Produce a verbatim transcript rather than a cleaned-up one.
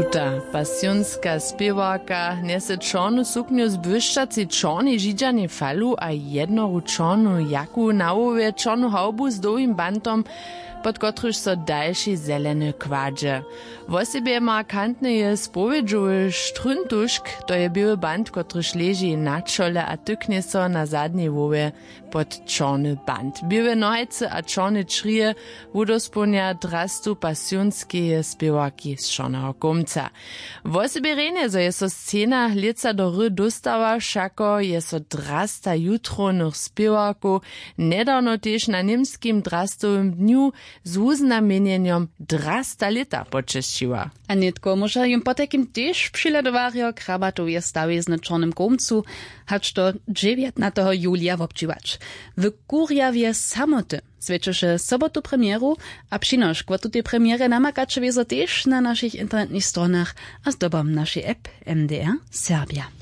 Tuta pasionska spěwarka njese čornu suknju z błyšćacej čornej židźanej falu a jednoru čornu jaku na hłowje, čornu hawbu z dołhim bantom, pod kotryž so dalši zeleny kładźe. Wosebje markantny je spowědźowy štryntušk, to je běły bant, kotryž leži na čole a tyknje so na zadnjej hłowje pod čorny bant. Běłe nohajcy a čorne črije wudospołnja drastu pasionskeje spěwarki z čorneho kołmca. Wosebje rjenje, zo je so scena lětsa do hry dóstała, wšako je so drasta jutrownych spěwarkow njedawno tež na němskim drastowym dnju z wuznamjenjenjom drasta lěta počesćiła. A nětko móža jim potajkim tež přihledowarjo krabatoweje stawizny w čornym kołmcu hač do dźewjatnateho julija wobdźěłać. W kurjawje samoty swjećeše sobotu premjeru, a přinošk wo tutej premjerje namakaće wězo tež na našich internetnych stronach a zdobom našej app. M D R Serbja.